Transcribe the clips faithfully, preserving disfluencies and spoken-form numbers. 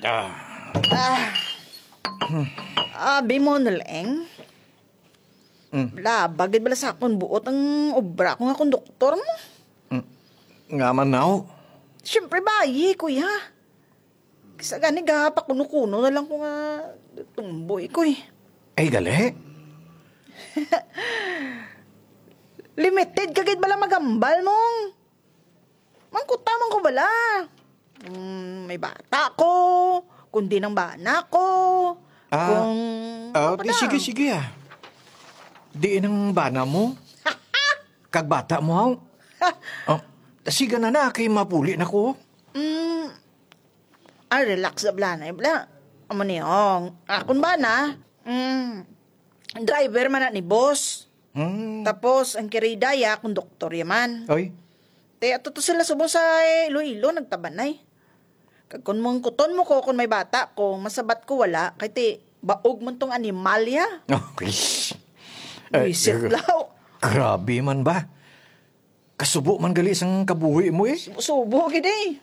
Ah. Ah. Abi mo, Naleng? Mm. Labag gid bala sa akon buot ang obra ko nga konduktor mo. Mm. Nga man, naw? Siyempre, bayi, kuya. Sa gani, gapakuno-kuno na lang ko nga tumboy ko, eh. Ay, gali? Limited ka gid bala magambal, mong. Mangkuta man ko bala. Mm, may bata ko, kung di nang bana ko, Ah, kung ah, ano pa di, na? Sige, sige, ah. Diin ang bana mo? Kag bata mo, haw? Oh, sige na na, kay mapuli na ko. Mm, ah, relax na bala na, bala. Amo ni, oh, akon bana, mm, driver man na ni boss. Hmm. Tapos, ang kirida ya, konduktor ya man. Oy. Te, ato to sila subong sa Iloilo, nagtabanay. Kag kung mangkuton mo ko kung may bata ko, masabat ko wala, kay ti, baog man tong animal ya. Okay. Eh, Buisit eh, law. Grabe man ba? Kasubo man gali sang kabuhi mo, eh. Subo, subo gid, eh.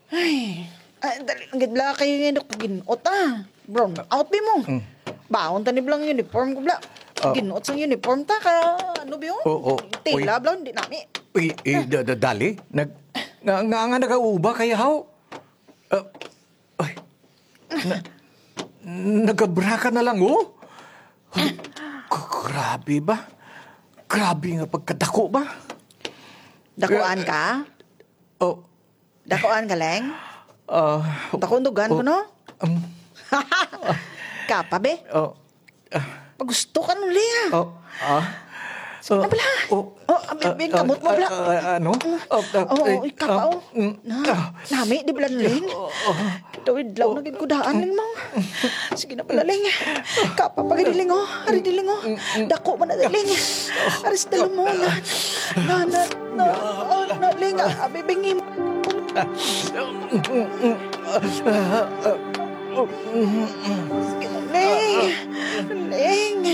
Ay, ay, dali lang gid bala kay nga gin-ot, ah. Brown out, bi mo. Mm. Baon ta ni bala ang uniform ko, bala. Ah. Gin-ot sang uniform ta ka, ano, bi, oh? Oo, oo. Tela, Uy. Bala, di nami. Uy, eh, da-, da-, dali. Nag-, nga, nga, nga nagauba kaya, haw? Ah, ay. Na-, nagabra ka na lang, oh? Ay, g-, grabe ba? Grabe nga pagkadako ba? Dakuan ka? Oh. Dakuan ka, Leng? Ah, Dakuan dugan ko, oh, no? Um, Kapa, be? Oh. Ah. Pagusto ka, no, Leng, ah? Oh, ah. Sige na bala. Oh, oh, abi, ah, abi, ah, kamot mo, ah, bala. Ah, ah, ano? Mm. Oh, ah, oh, eh, ikaw pa, ah, oh. Mm, Na, ah. Nami, di bala, Leng? Oh, oh. Idlaw-idlaw na gid ko daan, Leng, mo. Sige na bala, Leng. Kapa pa gid, Leng, oh. Ari di, Leng, oh. Mm, mm. Dako man na, Leng. Ari sa dalumon. Na, na, na, oh, na, Leng, ah, abi, bingi mo. Sige na, Leng. Leng.